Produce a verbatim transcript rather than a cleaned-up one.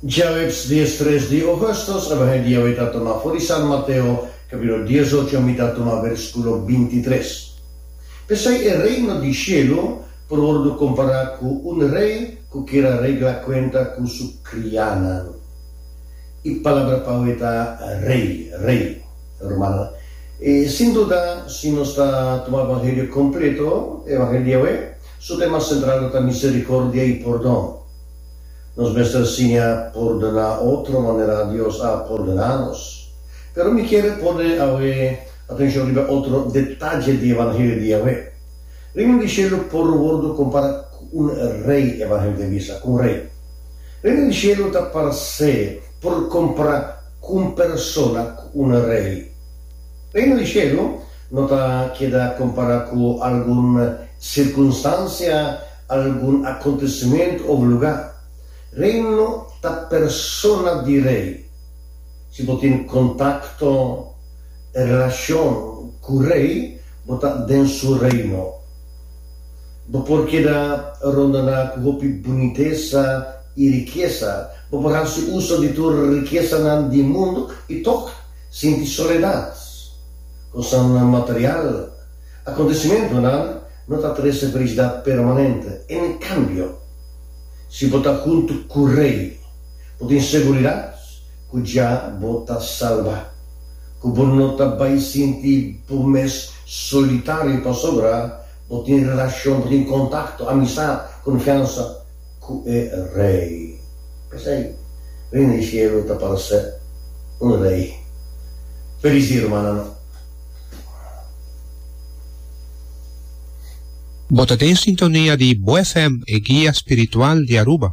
Djaweps diestres di ougùstùs, Evangelio di awe ta tumá for di San Mateo, kapítulo diesocho, mi ta tuma versíkulo bintitres. P'esei e reino di shelu por wòrdu kompará ku un rei ku kier a regla kuenta ku su kriánan. E palabra pa awe ta rei, rei, rumannan. I sin duda, si nos ta tuma Evangelio kompleto, Evangelio di awe, su tema sentral lo ta miserikòrdia i pordon. Nos mester siña pordoná otro manera Dios a pordoná nos. Pero mi kier pone awe atenshon riba otro detaye di Evangelio di awe. Reino di shelu por wòrdu kompará ku un rei, Evangelio ta bisa, ku un rei. Reino di shelu ta parse por kompará ku un persona, ku un rei. Reino di shelu no ta keda kompará ku algun sirkunstansia, algun akontesimentu òf lugá. Reino ta persona di rei. Si bo tin kontakto, relashon ku rei, bo ta den su reino. Bo por keda rondoná ku hopi bunitesa i rikesa, bo por hasi uso di tur rikesanan di mundu i tòg sinti soledat. Kosnan material, akontesimentunan no ta trese felisidat permanente. En kambio, si bo ta huntu ku Rei, bo tin seguridat ku ya bo ta salbá, ku bo no ta bai sinti bo mes solitario pasobra bo tin relashon, bo tin kontakto, amistat, konfiansa ku e Rei. P'esei, Reino di Shelu ta parse un rei. Felis dia, rumannan. Bo ta den sintonia di Bo F M, e guia spiritual di Aruba.